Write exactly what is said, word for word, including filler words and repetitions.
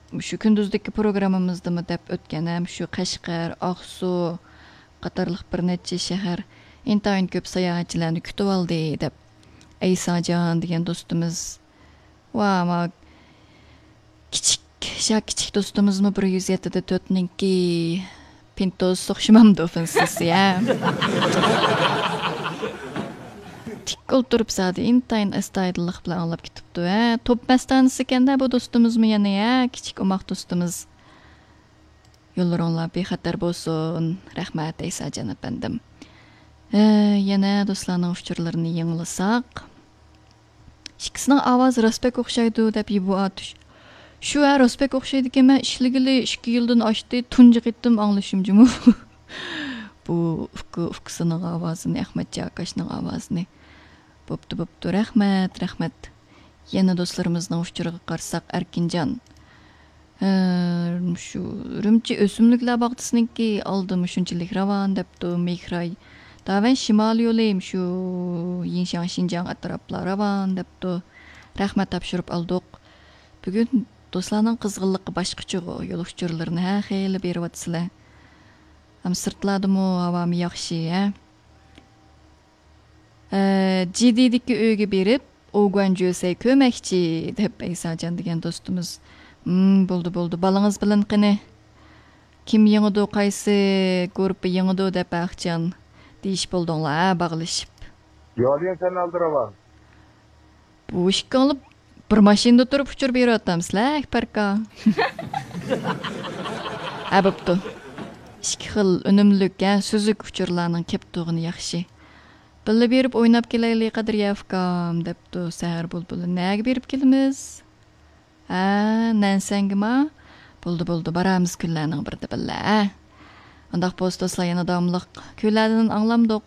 مۇشۇ كۈندۈزدىكى پروگراممىمىزدىمۇ دەپ ئۆتكەن ھەم شۇ قەشقەر، ئاقسۇ قاتارلىق بىر نەچچە شەھەر ئىنتايىن كۆپ ساياھەتچىلەرنى كۈتۈۋالدى دەپ ئەيساجان دېگەن دوستىمىز ۋە ما كىچىك، شا كىچىك دوستىمىزمۇ بىر يۈز يەتتە دە تۆتنىڭكى پىنتوز ئوخشىمامدۇ فىنسىسى ھە؟ تىك ئولتۇرۇپ زادى ئىنتايىن ئەستايىدىللىق بىلەن ئاڭلاپ كېتىپتۇ ھە. توپ مەستانىسى ئىكەندە بۇ دوستىمىزمۇ يەنە ھە، كىچىك ئوماق دوستىمىز. يوللىرىڭلار بىخەتەر بولسۇن. رەھمەت ئەيساجان ئەپەندىم. ھە، يەنە دوستلارنىڭ ئۇچۇرلىرىنى يېڭىلىساق. ئىككىسىنىڭ ئاۋازى راست بەك ئوخشايدۇ دەپ يىبۇ ئاتۇش. شۇ ھە، راست بەك ئوخشايدىكەن، مەن ئىشلىگىلى ئىككى يىلدىن ئاشتى، تۇنجى قېتىم ئاڭلىشىم جۇمۇ. بۇ ئۇكا ئۇكىسىنىڭ ئاۋازىنى، ئەخمەتجان ئاكاشنىڭ ئاۋازىنى. بوپتۇ، بوپتۇ، رەھمەت، رەھمەت. يەنە دوستلىرىمىزنىڭ ئۇچۇرىغا قارىساق، ئەركىنجان. ھە، شۇ ئۈرۈمچى ئۆسۈملۈكلەر باغچىسىنىڭكى ئالدىمۇ شۇنچىلىك راۋان دەپتۇ، مېيخراي. داۋەن شىمال يولى شۇ يىڭشاڭ شىنجاڭ ئەتراپلار راۋان دەپتۇ. رەھمەت تاپشۇرۇپ ئالدۇق. بۈگۈن دوستلارنىڭ قىزغىنلىقى باشقىچىغۇ، يول ئۇچۇرلىرىنى ھە خېلى بېرىۋاتىسىلەر. ھەم سىرتلاردىمۇ ھاۋامۇ ياخشى ھە. ئە، جىدىدىكى ئۆيگە بېرىپ، ئوگۇەنجۆسەي كۆرمەكچى، دەپ ئەيساجان دېگەن دوستىمىز. ھىم، بولدى، بولدى، بالىڭىز بىلەن قېنى. كىم يېڭىدۇ، قايسى گۇرۇپپا يېڭىدۇ، دەپ ئاخچان دېيىشىپ بولدۇڭلار ھە، باغلىشىپ. يالىيان سەن ئالدىراۋان. بۇ ئىككىڭلار بىر ماشىنىدا تۇرۇپ ئۇچۇر بېرىۋاتامسىلەر، ئەكبەركا؟ ھە، بوپتۇ. ئىككى خىل ئۈنۈملۈك ھە، سۈزۈك ئۇچۇرلارنىڭ كەپ تۇرغىنى ياخشى. بىللە بېرىپ ئويناپ كېلەيلى، قەدرىيە ئۇكام، دەپتۇ سەھەر بۇلبۇلى. نەگە بېرىپ كېلىمىز؟ ھە، نەنسەڭگىما؟ بولدى، بولدى، بارامىز كۈنلەرنىڭ بىرىدە بىللە، ھە. ئۇنداق بولسا دوستلار، يەنە داۋاملىق كۈنلەردىن ئاڭلامدۇق.